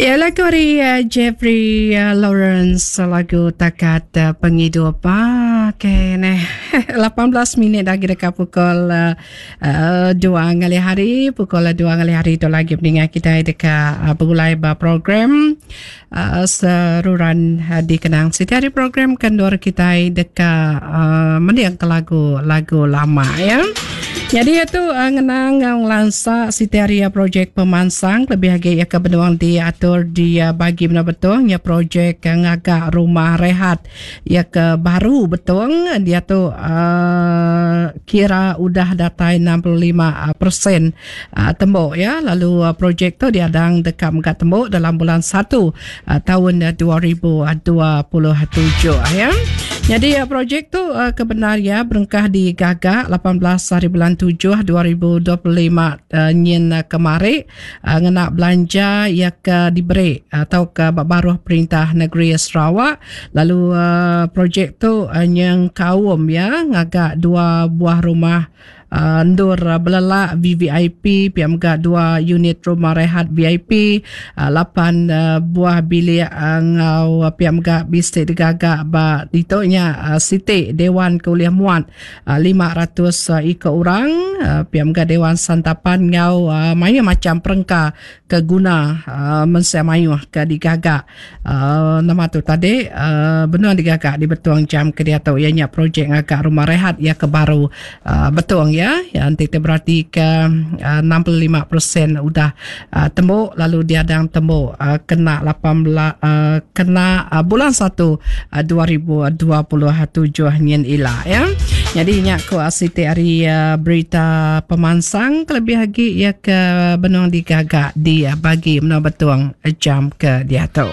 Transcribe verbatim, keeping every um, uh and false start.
Ya, lagu ari uh, Jeffrey uh, Lawrence, lagu Takat uh, Pengidup. Ah, okay, neh. lapan belas minit lagi dekat pukul uh, uh, dua ngalih hari. Pukul dua ngalih hari itu lagi mendengar kita dekat uh, bergulai ba program uh, seruran uh, dikenang. Setiap hari program kendor kita dekat uh, mendiang ke lagu-lagu lama ya. Jadi itu uh, ngenang ngau lansa siti hari uh, projek pemansang lebih lagi ya ke benuang diatur di uh, bagi benar betul ya projek uh, ngagak rumah rehat ya ke baru betul dia tu uh, kira udah datai enam puluh lima peratus uh, tembok ya, lalu uh, projek tu diadang dekat megak tembok dalam bulan satu uh, tahun dua ribu dua puluh tujuh ya. Jadi uh, projek tu uh, kebenar ya berengkah digagak lapan belas hari bulan tujuh dua ribu dua puluh lima uh, nyin uh, kemari uh, ngena belanja ya ke diberi atau ke baruh perintah negeri Sarawak, lalu uh, projek tu uh, yang kaum ya ngagak dua buah rumah Uh, ndur uh, belelak V V I P, P M G dua unit rumah rehat V I P, uh, lapan uh, buah bilik uh, ngau uh, P M G bisik digagak ba ditonya uh, Siti Dewan Kuliah Muat uh, lima ratus uh, iko orang, uh, P M G Dewan Santapan ngau uh, mayu macam perengka keguna uh, mensia mayu ke digagak uh, nama tu tadi uh, benar digagak di Betuang jam ke dia tu ianya projek ngagak rumah rehat ya ke baru uh, Betuang ya. Ya, nanti kita berarti ke uh, enam puluh lima peratus udah uh, tembok, lalu diadang tembok uh, kena lapan belas uh, kena uh, bulan satu uh, dua ribu dua puluh tujuh nyin ila ya. Jadi nyak ku asiti hari uh, berita pemansang kelebih lagi ya ke benung digagak di uh, bagi menua Betuang jam ke dia tu.